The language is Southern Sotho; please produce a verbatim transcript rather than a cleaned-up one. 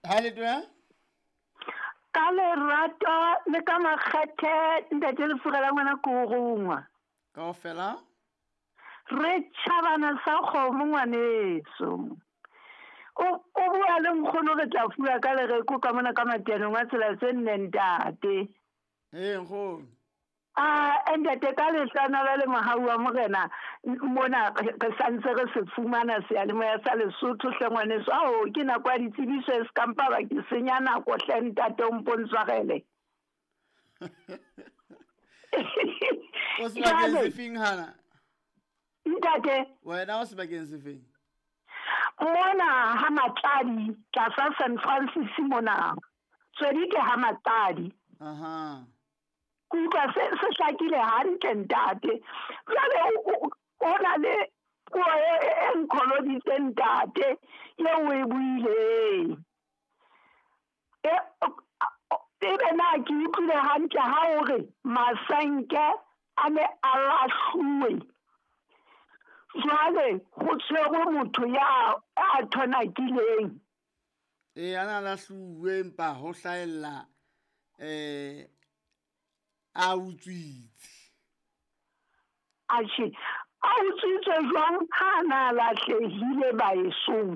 Ha le twe? Ka lerato le ka makgethe ntate Lefura la ngwana ko rongwa. Kaofela? Re tjhabana sa kgomo ngwaneso. O o bua le nkgono re tla fuwa ka lereko ka mona ka matianong a tsela tse nne ntate. Ee nkgono. Ah, ntate ka lehlohonolo le mohau wa morena mona re santse re se fumana seyalemoya sa Lesotho hle ngwaneso. Ao ke nako ya ditsebiso e se ka mpa ba ke senya nako hle ntate o mpo ntshwarele. O sebakeng se feng hana? Ntate. Wena o sebakeng se feng? Mona ha Matladi tlasa San Francis mona. Tswedi ke ha Matladi. Aha. Ke utlwa se se hlakile hantle ntate. Jwale o na le puo e e nkholoditseng ntate eo o e buileng. E ebe na ke utlwile hantle ha o re masenke a ne a lahluwe. Jwale ho tshwerwe motho ya a thonakileng. Ee, a na lahluwe empa ho hlahella eh a utswitse. Atjhe, a utswitse jwang ha na lahlehile baesong?